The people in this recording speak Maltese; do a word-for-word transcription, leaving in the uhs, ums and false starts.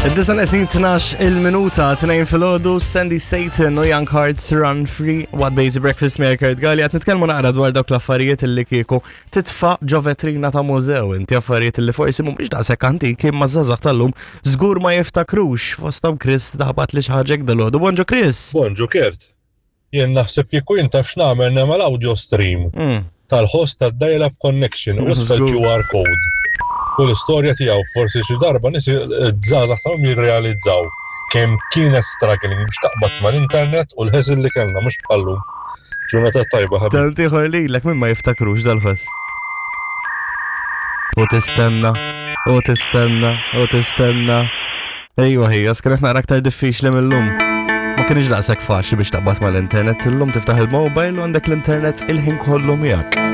Id-disa neqsin tnax il-minuta, tnejn filgħodu, Sandy Satan u Young Hearts Run Free, What Basic Breakfast me Kurt Galli, qed nitkellmu naqra dwar dawk l-affarijiet illi kieku titfa' ġo vetrina ta' mużew, inti affarijiet illi forsi mhumiex daqshekk antiki imma żgħażagħ tal-lum żgur ma jiftakrux. Fosthom Chris daħbat li xi ħaġa dalgħodu. Bonġu, Chris. Bonġu, Kurt. Jien naħseb kieku jien taf x'nagħmel, nagħmel audio stream Mm. tal-host tad dial-up connection u isfel Żgur. Q R code. U l-istorja tiegħu, forsi xi darba nies żgħażagħ tagħhom jirrealizzaw kemm kienet struggling biex taqbad mal-internet u l-ħesil li kellna, mhux bħallum. Ġurnata tajba, ħabib. Tant ieħor lilek, min ma jiftakrux dal-ħoss. U tistenna, u tistenna, u tistenna. Ejwa ħija, kienet naqra aktar diffiċli mill-lum. Ma kienx daqshekk faċli biex taqbad mal-internet, illum tiftaħ il-mobile u għandek l-internet il-ħin kollu miegħek.